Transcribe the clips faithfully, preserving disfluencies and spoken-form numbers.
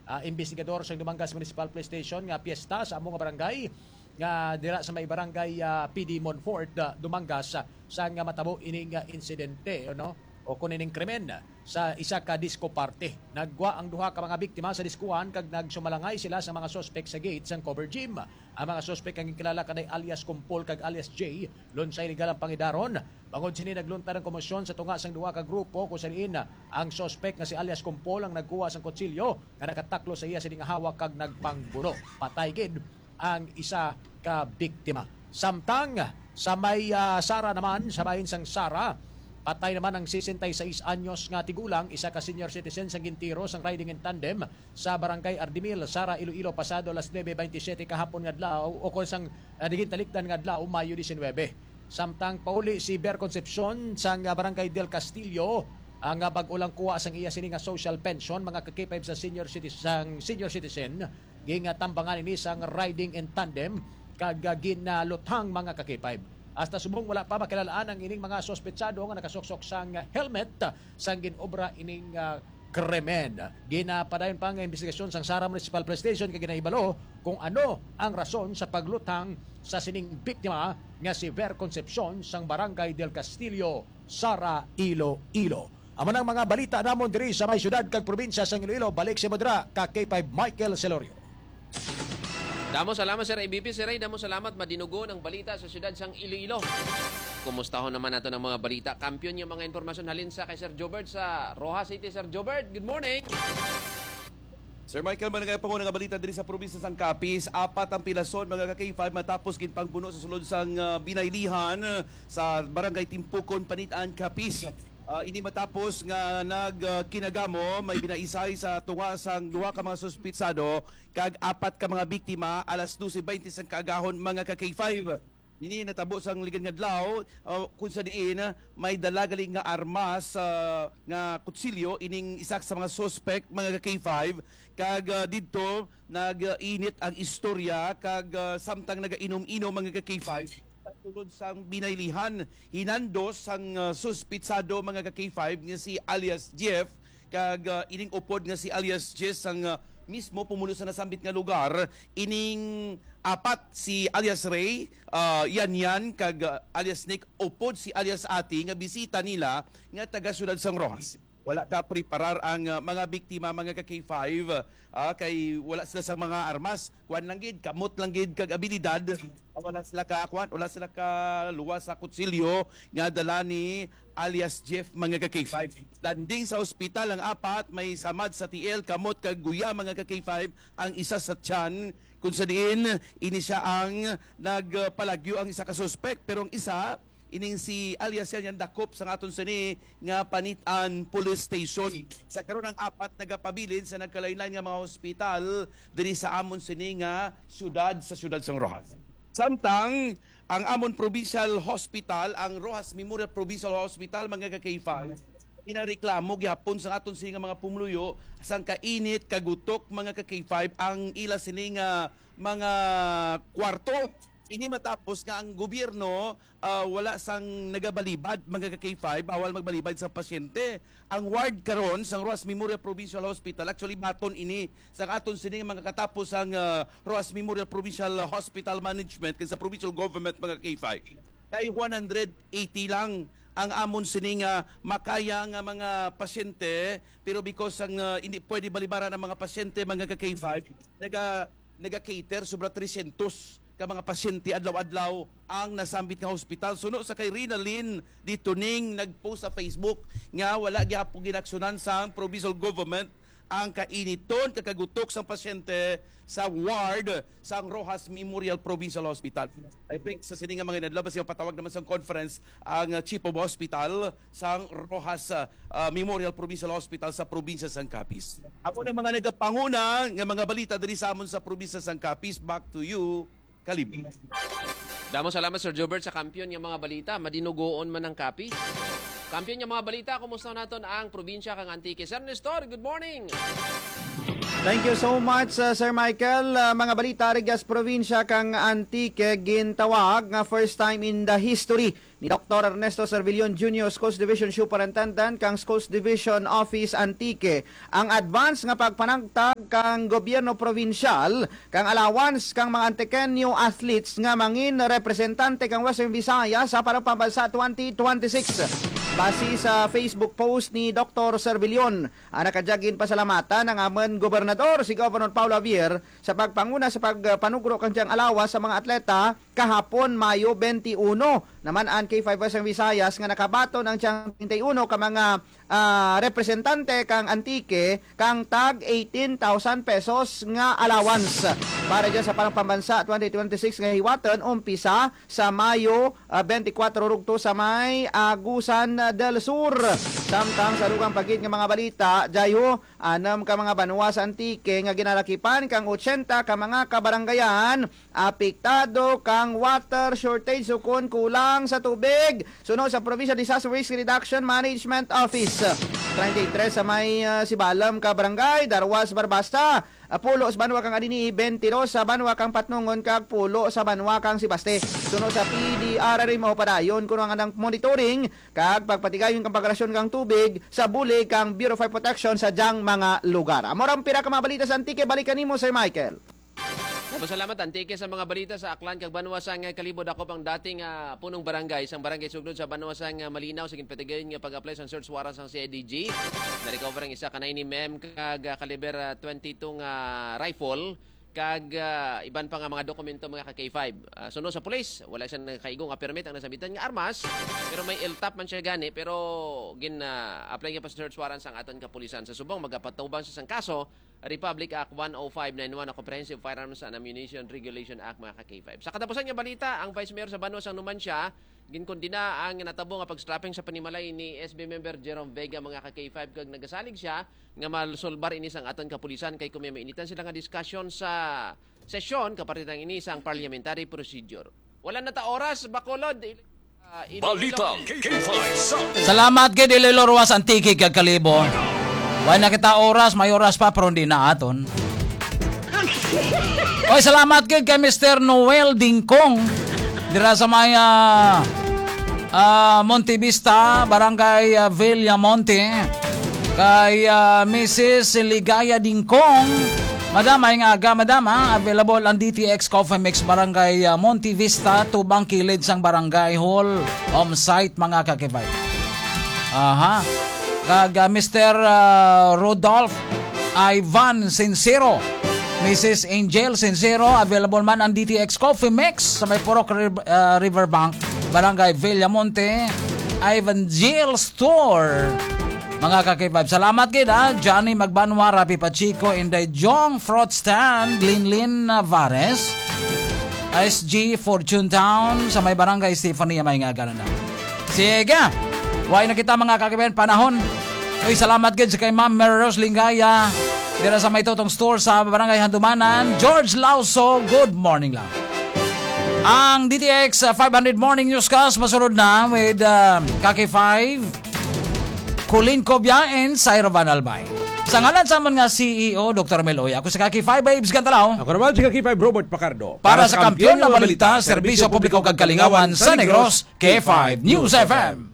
ah, investigador sa Dumangas Municipal Police Station nga piyesta sa amo nga barangay nga dira sa may barangay, ah, P D Monfort, ah, Dumangas, ah, sang matabo ining, ah, insidente, no? O kun ining krimen sa isa ka disco party. Naggwa ang duha ka mga biktima sa diskuhan kag nagsumalangay sila sa mga suspek sa gate sang cover gym. Ang mga suspek ang ginkilala kanay alias Kumpol kag alias J. Lunsay legal ang pangidaron. Bangod sini, naglunta ang komosyon sa tunga sang duha ka grupo, kung sa diin ang suspek nga si alias Kumpol ang nagkuha sang kutsilyo nga nakataklo sa iya sini nga hawak kag nagpangbuno. Patay gid ang isa ka biktima. Samtang sa may, ah, Sara naman, sa bahin sang Sara, patay naman ang sesenta y seis anyos nga tigulang, isa ka senior citizen, sang gintiro sang riding in tandem sa Barangay Ardimil, Sara, Iloilo, pasado alas nuebe bentisiete kahapon nga adlaw, o kon sang, ah, naging talikdan nga adlaw, Mayo diecinuebe. Samtang pauli si Ber Concepcion sang, ah, Barangay Del Castillo, ang, ah, bag-o lang kuha sang iya sini nga social pension, mga ka-K five, sa senior citi-, sang senior citizen, gintambangan ini sang riding in tandem kag, ah, ginaluthang, mga ka-K five. Hasta subong wala pa makilal-an ang ining mga suspetsado nga nakasuksok sang helmet sang ginobra ining, ah, krimen. Ginapadayon pa ang investigasyon sang Sara Municipal Police Station kag ginahibalo kung ano ang rason sa pagluthang sa sining biktima nga si Ver Concepcion sang Barangay Del Castillo, Sara, Iloilo. Amo nang mga balita namon diri sa may siyudad kag probinsya sang Iloilo. Balik sa Modra ka K five Michael Celorio. Damo salamat, Sir A B P. Sir Ray, damo salamat. Madinugon ang balita sa siyudad sang Iloilo. Kumustahon naman nato ng mga balita. Kampiyon yung mga impormasyon halin sa kay Sir Jobert sa Roxas City. Sir Jobert, good morning. Sir Michael, managay pa nga balita diri sa probinsya sang Capiz. Apat ang pilason, mga ka-K five, matapos ginpangbuno sa sulod sang, ah, Binaylihan, ah, sa Barangay Timpukon, Panitan, Capiz. Ah, ini matapos nga nag, ah, kinagamo, may binaisay sa tunga sang duha ka mga suspitsado kag apat ka mga biktima alas dose baynte sang kaagahon, mga ka-K five. Ini natabo sang ligad nga adlaw, ah, kung sa diin may dala gali nga armas, ah, nga kutsilyo ining isa sa mga suspek, mga ka-K five, kag, ah, didto nag-init ang istorya kag, ah, samtang nagainom-inom, mga ka-K five, sa sulod sang Binaylihan, hinandos sang, ah, suspitsado, mga ka-K five, nga si alias Jeff, kag, ah, ining upod nga si alias Jess sang, ah, mismo pumulo sa nasambit nga lugar. Ining apat, si alias Ray, ah, Yan Yan, kag, ah, alias Nick, upod si alias Ate nga bisita nila nga taga siyudad sang Roxas. Wala ka preparar ang, ah, mga biktima, mga ka-K five, ah, kay wala sila sa mga armas. Kuan lang gid, kamot lang gid kag abilidad. Wala sila ka, kuan, wala sila ka luwas sa kutsilyo nga dala ni alias Jeff, mga ka-K five. Landing sa ospital ang apat, may samad sa tiil, kamot kag guya, mga ka-K five, ang isa sa tiyan, kung sa diin ini siya ang nagpalagyo ang isa ka suspek, pero ang isa, ining si alias Yan Yan, dakop sa aton sini nga Panitan Police Station. Sa karon, ang apat nagapabilin sa nagkalain-lain nga mga hospital diri sa amon sini nga syudad, sa syudad sang Roxas. Samtang ang amon provincial hospital, ang Roxas Memorial Provincial Hospital, mga ka-K five, ginareklamo gihapon sa aton sini nga mga pumuluyo sang kainit, kagutok, mga ka-K five, ang ila sini nga mga kwarto. Ini matapos nga ang gobyerno, ah, wala sang nagabalibad, mga ka-K five, bawal magbalibad sa pasyente. Ang ward karon sang Roxas Memorial Provincial Hospital, actually, baton ini sa aton sini nga mga katapos ang, ah, Roxas Memorial Provincial Hospital Management kag sa provincial government, mga ka-K five. Kay one hundred eighty lang ang amon sini nga makaya nga mga pasyente, pero because ang, ah, hindi pwede balibaran ang mga pasyente, mga ka-K five, naga, naga-cater sobra trescientos ka mga pasyente adlaw-adlaw ang nasambit nga hospital. Suno sa kay Rina Lynn Ditoning nag-post sa Facebook nga wala gyapon ginaksyonan sang provincial government ang kainiton kag kagutok sang pasyente sa ward sang Roxas Memorial Provincial Hospital. I think sa sini nga mga inadlaw, basi mapatawag naman sang conference ang, uh, Chief of Hospital sang Roxas, uh, uh, Memorial Provincial Hospital sa probinsya sang Capiz. Ako na mga nagapanguna nga mga balita diri sa amon sa probinsya sang Capiz. Back to you, Kalib. Damo salamat, Sir Jobert, sa kampiyon nga mga balita. Madinugoon man ang Capiz. Kampiyon nga mga balita, kumusta naton ang probinsya kang Antique? Sir Nestor, good morning. Thank you so much, uh, Sir Michael. Uh, mga balita rugya sa probinsya kang Antique, gintawag nga first time in the history ni Doktor Ernesto Servillon Junior, Schools Division Superintendent kang Schools Division Office Antique, ang advance nga pagpanagtag kang gobyerno probinsyal kang allowance kang mga Antiqueño athletes nga mangin representante kang Western Visayas sa Parang Pambansa twenty twenty-six. Base sa Facebook post ni Doktor Servillon, ang nakadyag ginpasalamatan ang amon gobernador, si Governor Paolo Javier, sa pagpanguna sa pagpanugro kang siyang alawas sa mga atleta kahapon, Mayo twenty-one. Naman ang K five Western Visayas nga nakabaton ang siyang treinta y uno ka mga, ah, representante kang Antique kang tag eighteen thousand pesos nga allowance para dyan sa Parang Pambansa twenty twenty-six nga hiwaton umpisa sa Mayo, ah, twenty-four rugto sa may Agusan del Sur. Samtang sa dugang pa gid nga mga balita, dayho, anam ka mga banwa sa Antique nga ginalakipan kang ochenta ka mga kabarangayan apektado kang water shortage ukon kulang sa tubig. Suno sa Provincial Disaster Risk Reduction Management Office, treinta y tres sa may, ah, Sibalom ka barangay, darwa sa Barbasta, ah, pulo sa banwa kang Anini-y, twenty-two sa banwa kang Patnongon, kag pulo sa banwa kang Sebaste. Suno sa P D R R M O, padayon kuno ang anang monitoring kag pagpatigayon kang pagrasyon kang tubig sa bulig kang Bureau of Fire Protection sa dyang mga lugar. Amo ra ang pira ka mga balita sa Antique. Balik kanimo, Sir Michael. Salamat, Antique, sa mga balita sa Aklan kag Banwa sang Kalibo. Dakop ang dating, ah, punong barangay sang Barangay Suglod sa Banwa sang, ah, Malinaw sa ginpatigayon nga pag-apply sang search warrant sang C I D G. Na-recover ang isa ka nine M M kag, ah, caliber, ah, twenty-two nga rifle kag, ah, iban pa nga mga dokumento, mga ka K five. Ah, suno sa pulis, wala siya nakaigo nga permit ang nasambitan nga armas, pero may L top man siya gani, pero gin, ah, apply nga pa sa search warrant sang aton kapulisan. Sa subong, magapatubang siya sang kaso, Republic Act one oh five nine one, o Comprehensive Firearms and Ammunition Regulation Act, mga ka K five. Sa katapusan nga balita, ang Vice Mayor sa Banwa sang Numancia ginkondena ang natabo nga pag-strapping sa panimalay ni S B member Jerome Vega, mga ka K five, kag nagasalig siya nga masulbar ini sang aton kapulisan kay kung may mainitan sila nga diskusyon sa sesyon, kapartihan ini sang parliamentary procedure. Wala na ta oras, Bacolod. Ah, Iloilo. Balitang K five sa Salamat gid, Iloilo, Roxas, Antique kag Kalibo. Wala na kita oras, may oras pa, pero hindi na aton. Oy, salamat gid kay Mister Noel Dingkong dira sa may, ah, ah, Monte Vista, Barangay, ah, Villamonte. Kay, ah, Missus Ligaya Dingkong, Madam, ay nga aga, Madam, ha? Available ang D T X Coffee Mix, Barangay, ah, Monte Vista, tubang kilid sang Barangay Hall, home site, mga ka-K five. Aha. Kag, ah, Mister, ah, Rodolph Ivan Sincero, Missus Angel Sincero, available man ang D T X Coffee Mix sa may Purok Riv-, ah, Riverbank, Barangay Villamonte, Ivan Gil Store. Mga ka-K five, salamat gid, ha. Johnny Magbanwa, Rafi Pacheco, Inday Jong, Fruit Stand, Linlin Navares, S G Fortune Town, sa may Barangay Stefania, may nga ganun na. Sige, way na kita, mga ka-K five, panahon. Uy, salamat gid sa kay Ma'am Mary Rose Lingaya, dira sa may Totong Store sa Barangay Handumanan. George Lauso, good morning lang. Ang D T X, uh, five hundred Morning Newscast, masunod na with, uh, ka-K five, Colin Cobia and Syra Van Albay. Sa ngalan sa amon nga C E O, Doktor Mel Oy, ako si ka-K five Babes Gantalaw. Ako naman si ka-K five Robert Pacardo. Para sa Kampiyon na Balita, Serbisyo Publiko kag Kalingawan sa Negros, K five News F M.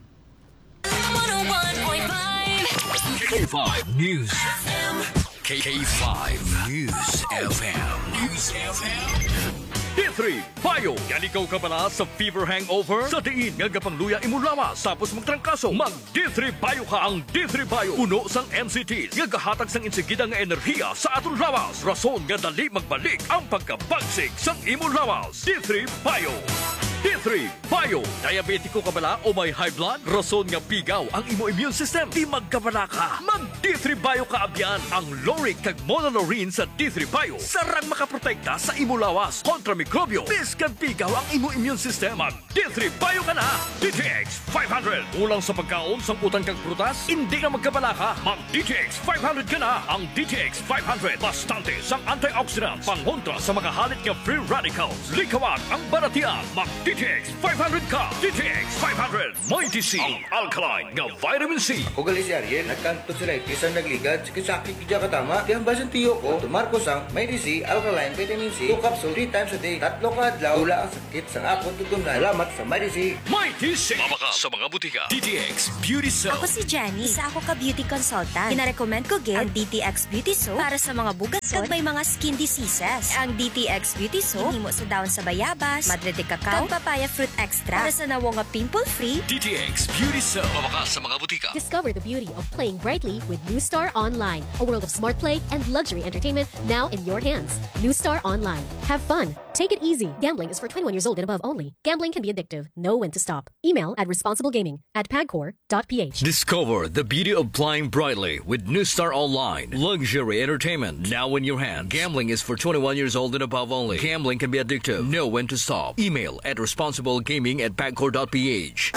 K five News. K five News F M. News F M. D three Bio. Yan ikaw kabala sa fever hangover? Sa diin nga gapangluya imo lawas tapos magtrangkaso? Mag D three Bio ka. Ang D three Bio puno sang N C Ts nga gahatag sang insigida nga enerhiya sa aton lawas, rason nga dali magbalik ang pagkabagsik sang imo lawas. D three Bio. D three Bio. Diabetiko ka bala o may high blood? Rason nga pigaw ang imo immune system. Di magkabala ka. Mag D three Bio ka abyan. Ang lauric kag monolaurin sa D three Bio sarang makaprotekta sa imo lawas kontra mikrobyo. Bisan pigaw ang imo immune system, mag D three Bio ka na. D T X five hundred. Kulang sa pagkaon sang utan kag prutas? Hindi na magkabala ka. Mag D T X five hundred ka na. Ang D T X five hundred bastante sang antioxidants pangontra sa mga halit nga free radicals. Likawan ang balatian. Mag D D T X five hundred ka. D T X five hundred. Mighty C, ang alkaline nga vitamin C. Ako gali si Ariel, nagkantog sa life, isang nagligad, sakit-sakit gid siya katama. Kaya ang basin tiyo ko, tumar ko sang Mighty C, alkaline vitamin C, two capsule, three times a day, tatlo ka adlaw, wala ang sakit sang akon tutunlan. Salamat sa Mighty C. Mighty C. Mabakal sa mga butika. D T X Beauty Cell. Ako si Jenny, isa ako ka beauty consultant. Ginarecommend ko gid ang D T X Beauty Soap para sa mga bugaton kag may mga skin diseases. Ang D T X Beauty Soap ginhimo sa dahon sa bayabas, madre de cacao, kag papaya fruit extract para sa nawong nga pimple-free. D T X Beauty Cell. Mabakal sa mga butika. Discover the beauty of playing brightly with New Star Online, a world of smart play and luxury entertainment now in your hands. New Star Online. Have fun. Take it easy. Gambling is for twenty-one years old and above only. Gambling can be addictive. Know when to stop. Email at responsiblegaming at pagcor dot p h. Discover the beauty of playing brightly with New Star Online. Luxury entertainment now in your hand. Gambling is for twenty-one years old and above only. Gambling can be addictive. Know when to stop. Email at responsiblegaming at pagcor dot p h.